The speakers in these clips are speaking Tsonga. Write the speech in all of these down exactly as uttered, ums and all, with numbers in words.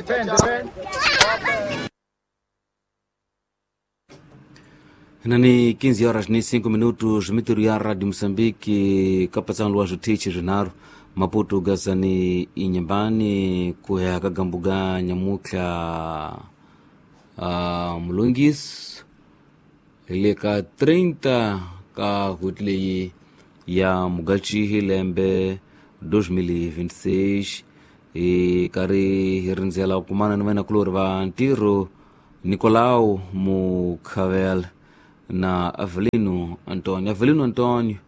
Depende, depende. Nani quinze horas ni cinco minutos, mitiru ya Radio Mozambique, kapatsan luajo tichi rinaro, Maputo gazani inyambani, kuya kagambuga nyamukla uh, mulungis, leka trinta ka hutleyi ya mugachi lembe dois mil e vinte e seis, e kari hirinzela kumana ni wena kulori va ntirho Nicolau Mukhavel na Avelino Antonio. Avelino Antonio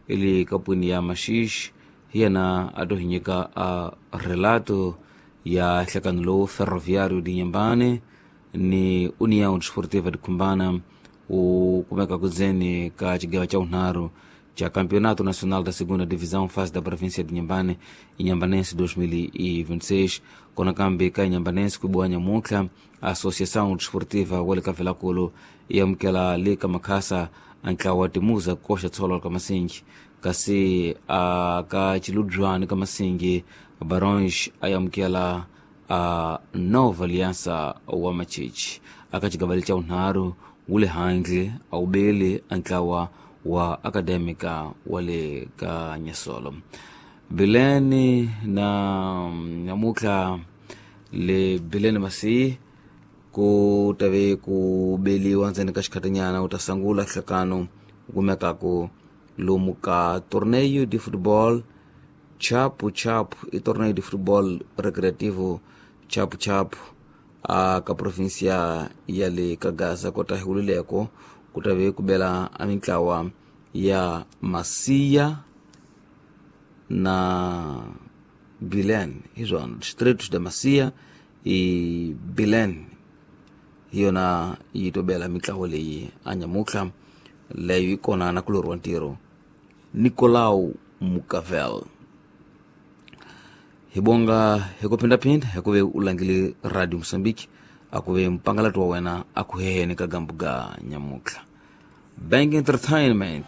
ili kapuni ya Maxixe hi yena a to hi nyika a relato ya nhlekano lowu Ferroviário de Inhambane ni União Desportiva de Cumbana wu kumeka kudzeni ka xigewa xa vunharhu xa Campeonato Nacional da Segunda Divisão fase da província de Inhambane, Inhambanense dois mil e vinte e seis. Kona kambe ka Inhambanense ku biwa nyamuntlha Associação Desportiva wa le ka Velakulu yi amukela le ka Makhasa a ntlawa wa Timuza koxa tsholo ka Masingi, kasi a ka Chiludzwani ka Masingi Barões a amukela a Nova Aliança wa Machichi. Aka xigavali xa vunharhu wu le handle a wu beli a ntlawa wa Académica wa le ka Nyasolo. Bileni na nyamutlha le Bileni Masiyi ku tave ku beliwa ndzeni ka xikhatinyana u ta sungula nhlekano wu kumekaku lomu ka torneio de futebol Chapu Chapu, i torneio de futebol recreativo Chapu Chapu a ka província ya le ka Gaza kota hi wulileko ku tave ku bela a mintlawa ya Masia na Bilene, hi swona distritos da Masia i Bilene hi yona yi to bela mintlawa leyi a nyamutlha leyo yi kona na kulori wa ntirho Nicolau Mukavel. Hi bonga hi ku phindaphinda hi ku ve u langile Radio Mozambique a ku ve mpangalati wa wena a ku heheni ka gambu ga nyamutlha. Bank Entertainment.